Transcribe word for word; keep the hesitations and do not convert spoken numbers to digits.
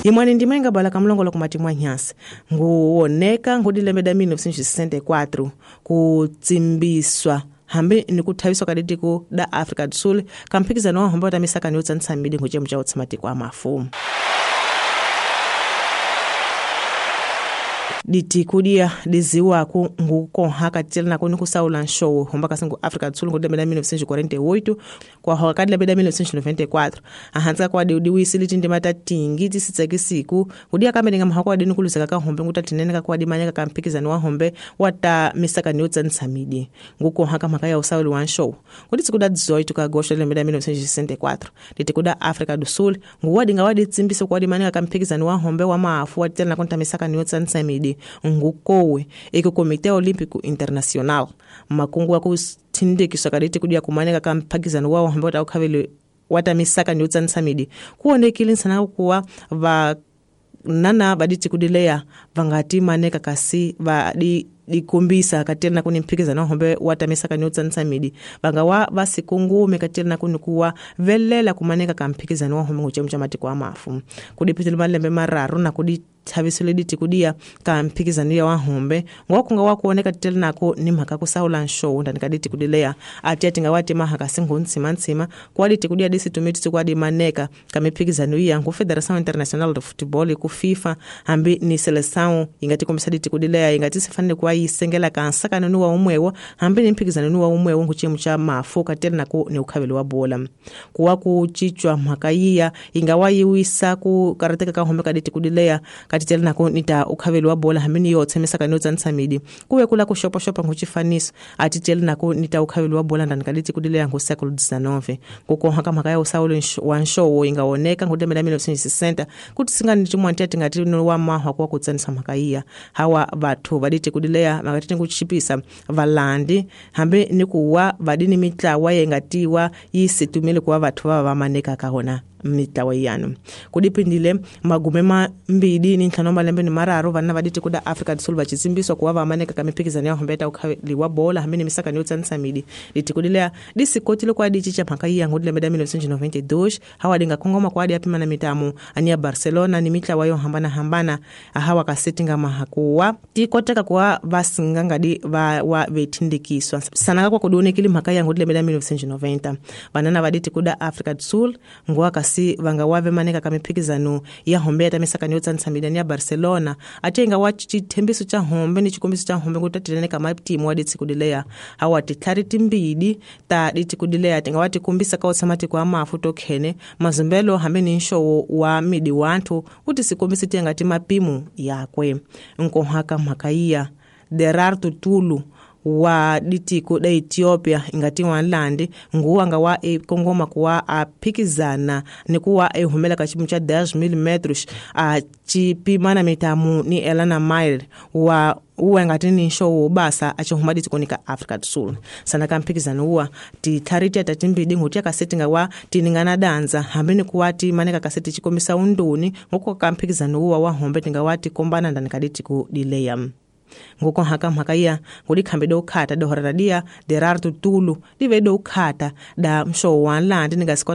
Yimwani ndima ingabala kamlongolo kumatimwa nyasi nguwoneka ngudilembe da mil novecentos e sessenta e quatro kutsimbiswa hambi ni kuthaviswa ka ditiko da Afrika do Sul kamphikizano wa hombe wa ta misaka ni yo tsanisa midi ngucemu cha utsamatiko a mafu. Ditiko dia diziwaku ngukonhaka tela na kuni kusaula nshowo homba kasingu Afrika do Sul ngudilembe da mil novecentos e quarenta e oito kwa hoka kadilembe da mil novecentos e noventa e quatro ahantsika kwa diudiwisi litindima ta tingi tisitsekisiku kudia kambe ninga mahako adini kuluzeka ka hombe ngutatinene ka kwa dimanyaka kamphikizano wa hombe wa ta misaka ni yo tsanisa midi ngukonhaka mhaka ya usauli wa nshowo kuditsi kuda dezoito ka agosto lembe da mil novecentos e sessenta e quatro ditiko da Afrika do Sul nguwadinga waditsimbisa kwa dimanyaka kamphikizano wa hombe wa mafu wa tela na kunta misaka ni yo tsanisa midi ngukowe eko Komite Olímpico Internacional makungu akutindikiswa kaditi kudia kumaneka kamphikizano wa hombe wa ukhavele wa misaka ni yo tsanisa midi kuonekile nsana kuwa va nana baditi kudileya vangati maneka kasi va di dikumbisa katela kuni mphikizano hombe wa misaka ni yo tsanisa midi vangawa vasikungume katela kuni kuwa velela kumaneka kamphikizano wa hombe nguchemu cha matiko a mafu kudipitile malembe mararu na kudi thavisile ditikudia kamphikizano ya wahombe ngokunga wakuoneka titele nako ni mhaka kusaula nshowo ndani kaditikudileya ati atinga wati mahaka singuntsimantsima kwa ditikudia disitumiti kwadimaneka kamiphikizano iya ngu Federação Internacional de Futebol ku FIFA hambi ni seleção ingati kombisa ditikudileya ingati sifanele kwa yisengela kansakano ni wa umwewo hambi ni mphikizano ni wa umwewo nguchemu cha mafu katele nako ni ukhavelo wa bola kuwa kuchichwa mhaka iya ingawa yiwisa ku karateka ka hombe kaditikudileya katitela nako nita ukhavelo wa bola hamini yotse misaka ni yo tsanisa midi kuwe kula kushoposhopa nguchifaniso atitela nako nita ukhavelo wa bola ndani kaditikudileya ngu século dezenove kukonhaka mhaka ya usauli wa nshowo ingawoneka ngulembe la mil novecentos e sessenta kuti singani chimwanti atingati wa mahwa kwa kutsanisa mhaka iya hawa vathu vaditikudileya makatiti kuchipisa valandi hambi ni kuwa vadini mitlawa yengatiwa yisitumile kuwa vathu vava vamaneka kahona mitlawa yanu kudipindile magume mambili ni ntlhanu malembe ni mararu vana vaditi kuda Afrika do Sul vachitsimbiswa kuwa vamaneka ka miphikizano ya hombe ta ukhaliwa bola hambi ni misaka ni yo tsanisa midi ditikudileya disikotile kwa dichicha mhaka iya ngudilembe da mil novecentos e noventa e dois hawa dingakongoma kwa adi apima na mitamu ani ya Barcelona ni mitlawa yo hambana hambana hawa kasetinga mahakuwa tikoteka kuwa vasingangadi va wa vetindikiswa sanaka kwa kudionekile mhaka ya ngudilembe da mil novecentos e noventa vanana vaditi kuda Afrika do Sul nguwa kasi vanga wave maneka kamiphikizano ya hombe ya misaka ni yo tsanisa midi ya Barcelona atenga wa chithembiso cha hombe ni chikombiso cha hombe ngutatilene kama timu wa ditikudileya hawa titlhari timbili ta ditikudileya tinga wa tikumbisa ka utsamatiko a mafu tokhene mazumbelo hambi ni nshowo wa midi wanthu kuti sikombisi tiyangati mapimu yakwe nkohaka mhaka iya Derartu Tulu wa ditiko da Ethiopia ingati wanlandi nguwanga wa ekongoma kuwa aphikizana ni kuwa ehumela ka chimu cha dez mil metros a chipimana mitamu ni Elana Mile wa uwa ngati ni nshowo basa achihuma ditiko ka Afrika do Sul sana kamphikizano uwa titlhari tiata timbili nguti akasetinga wa tiningana danza hambi ni kuwa timaneka kaseti chikomisa unduni nguko kamphikizano uwa wa hombe tinga wa tikombana ndani kaditiko dileya nguko haka mhaka iya ngudikhambe do ukhata dohorera dia Derartu Tulu dive do ukhata da mshowo wa nlandi ningasikota.